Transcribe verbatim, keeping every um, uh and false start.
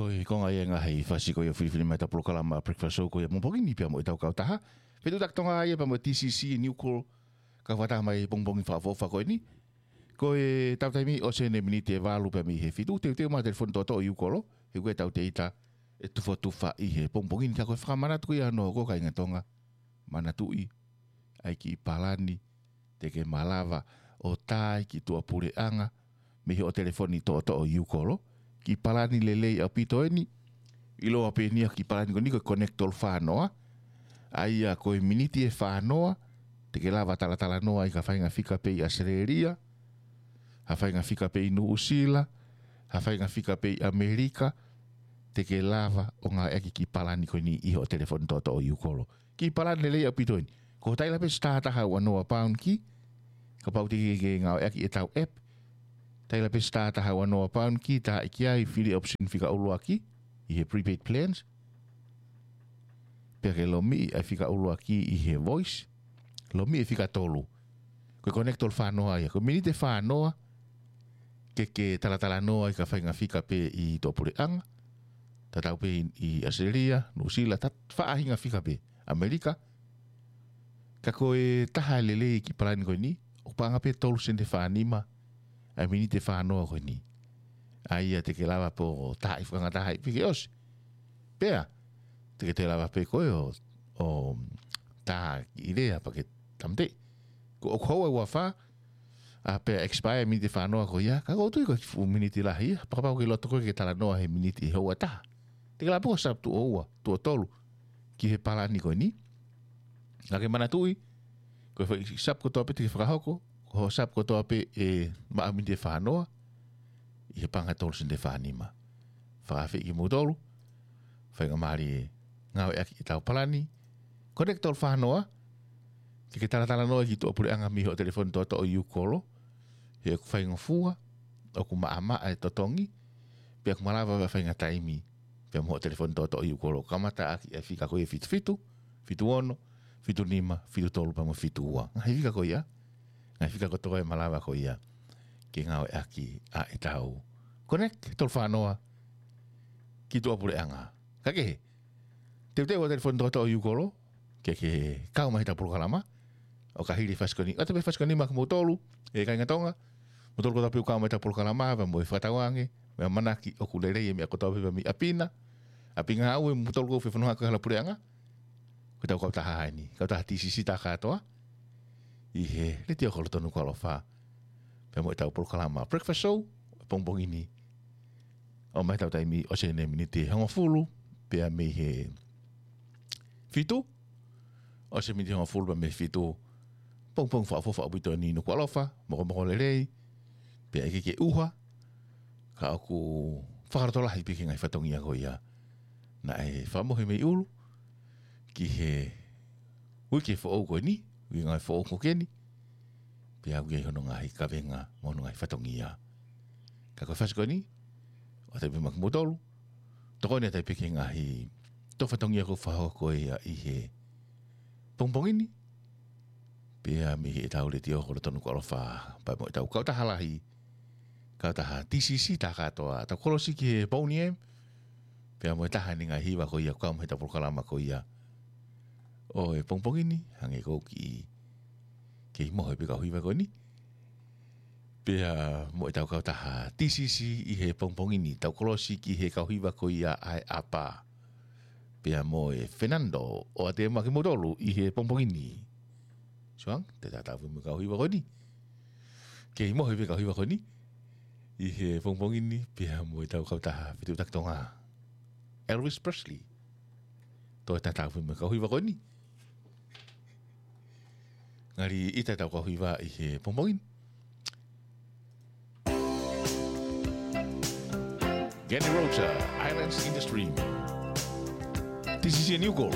Ko e konga ia e ngaahi fasi ko ia ʻoku filifili mai ʻetau polokalama Breakfast Show ko ia pongipongi ni pea mo ʻetau kautaha Fetuʻutaki Tonga ia pea mo e T C C New Call. Ka fata mai pongipongi fakaʻofoʻofa ko eni. Ko ʻetau taimi ʻosi ʻene miniti ʻe valu pea mei he fitu, teuteu mai telefoni toʻotoʻo ʻi ʻū kolo. He ko ʻetau teita ʻe tufotufa ʻi he pongipongi ni ka ko e fakamanatu ko ia ʻoku hoko kāinga Tonga. Manatuʻi, ʻai kiʻi palani, te ke malava ʻo tā ki tuʻapuleʻanga, mei hoʻo telefoni toʻotoʻo ʻi ʻū kolo, kiʻi palani lelei ʻaupito eni, ʻiloa pē eni ʻa e kiʻi palani ko eni ko e Connect tolu fā noa, ʻa ia ko e miniti ʻe fā noa, te ke lava talatalanoa ʻi ha faʻahinga fika pē ʻi ʻAositelēlia, ha faʻahinga fika pē ʻi Nuʻusila, ha faʻahinga fika pē ʻi ʻAmelika, te ke lava ʻo ngāueʻaki kiʻi palani ko eni ʻi hoʻo telefoni toʻotoʻo ʻi ʻū kolo. Kiʻi palani lelei ʻaupito eni. Ko e taila pē star taha ua noa pound key, kapau te ke ngāueʻaki ʻetau app. Taila pē star taha ua noa pound key, tā ʻi ai fili option fika ʻuluaki, ʻi he prepaid plans. Pea ke lomiʻi ʻa e fika ʻuluaki ʻi he voice. Lomiʻi e fika tolu. Ko e Connect tolu fā noa ia. Ko e miniti ʻe fā noa, ke ke talatalanoa ʻi ha faʻahinga fika pē ʻi tuʻapuleʻanga. Tatau pē ʻi, ʻi ʻAositelēlia, Nuʻusila, ta faʻahinga fika pē. ʻAmelika. Ka ko e taha lelei kiʻi palani ko eni, ʻoku paʻanga pē tolu sene fā nima, ʻa e miniti ʻe fā noa ko eni. ʻA ia te ke lava pē ʻo tā ʻi fakangataha ʻi pē ke ʻosi. Pea, te ke toe lava pē koe ʻo, ʻo tā kiʻi lea pea ke tāmateʻi. Ko ʻoku houa ʻe uofā, ʻa pea expire miniti ʻe fā noa ko ia, ka ʻoku ou tui ko e fuʻu miniti lahi ia, pea kapau ʻoku ke loto koe ke talanoa he miniti ʻe houa ʻe taha. Te ke lava pē ʻo sub tuʻo ua, tuʻo tolu, ki he palani ko eni. Ka ke manatuʻi, ko e foʻi sub kotoa pē te ke fakahoko, ko hoʻo sub kotoa pē ʻe maʻu miniti ʻe fā noa, ʻi he paʻanga tolu sene fā nima. Fakaafeʻi kimoutolu, faingamālie ngāueʻaki ʻetau palani, Connect tolu fā noa, ke ke talatalanoa ki tuʻapuleʻanga mei hoʻo telefoni toʻotoʻo ʻi ʻū kolo, he ʻoku faingofua, ʻoku maʻamaʻa e totongi, pea ʻoku malava ʻa e faʻahinga taimi, pea mo hoʻo telefoni toʻotoʻo ʻi ʻū kolo, kamata ʻaki ʻa e fika ko ia ʻe fitu fitu, fitu ono, fitu nima, fitu tolu pea mo e fitu ua. Ngaahi fika ko ia, ngaahi fika kotoa ʻe malava ko ia, ke ngāueʻaki ʻa ʻetau Connect tolu fā noa, ki tuʻapuleʻanga. Ka kehe, teuteu ʻa e telefoni toʻotoʻo ʻi ʻū kolo, ke ke kau mai heʻetau polokalama, ʻo ka hili e fasi ko eni. ʻOatu pē fasi ko eni maʻa kimoutolu, ʻe kāinga Tonga, moutolu kotoa pē ʻoku kau mai heʻetau polokalama, pea mo e fakatauange, mo e ʻamanaki ʻoku lelei e meʻa kotoa pē mei ʻapi na, ʻapi ngāue, moutolu ʻoku fefononga ko e hala puleʻanga, ko ʻetau kautaha eni, kautaha T C C tā kātoa, ʻi he letiō kolo tonu ko ʻAlofa, pea mo ʻetau polokalama Breakfast Show, pongipongi ni, ʻomai ʻetau taimi ʻosi ʻene miniti ʻe hongofulu, pea mei he fitu, ʻosi e miniti ʻe hongofulu pea mei he fitu, pongipongi fakaʻofoʻofa ʻaupito eni ʻi Nukuʻalofa, mokomoko lelei, pea ʻikai ke ʻuha, ka ʻoku fakalotolahi pē ki he ngaahi fatongia ko ia. Naʻe fakamohe mei ʻulu, ki he uike foʻou ko eni, uike ngāue foʻou ko eni, pea ʻoku ʻi ai hono ngaahi kavenga mo hono ngaahi fatongia. Ka ko e fasi ko eni, ʻoatu pē maʻa kimoutolu, tokoni atu pē ki he ngaahi tō fatongia ʻoku fakahoko ia ʻi he pongipongi ni, pea mei heʻetau letiō kolo tonu ko ʻAlofa, pea mo ʻetau kautaha lahi, kautaha T C C tā kātoa, ʻetau kolosi ki he Boney M, pea mo e taha eni ngaahi hiva ko ia, kau mai heʻetau polokalama ko ia ʻo e pongipongi ni, hangē ko e kiʻi, kei mohe pē kau hiva ko eni. Pea mo ʻetau kautaha T C C ʻi he pongipongi ni, tau kolosi ki he kau hiva ko ia ʻa e ʻapa. Pea mo e Fernando, ʻoatu maʻa kimoutolu ʻi he pongipongi ni. Suang, te tau tatau pē mo e kau hiva ko eni. Kei mohe pē kau hiva ko eni. ʻI he pongipongi ni, pea mo ʻetau kautaha Fetuʻutaki Tonga. Elvis Presley. Toe tatau pē mo e kau hiva ko eni. Ngali ʻita ʻetau kau hiva ʻi he pongipongi ni. Kenny Rogers, Islands in the Stream. This is your new goal.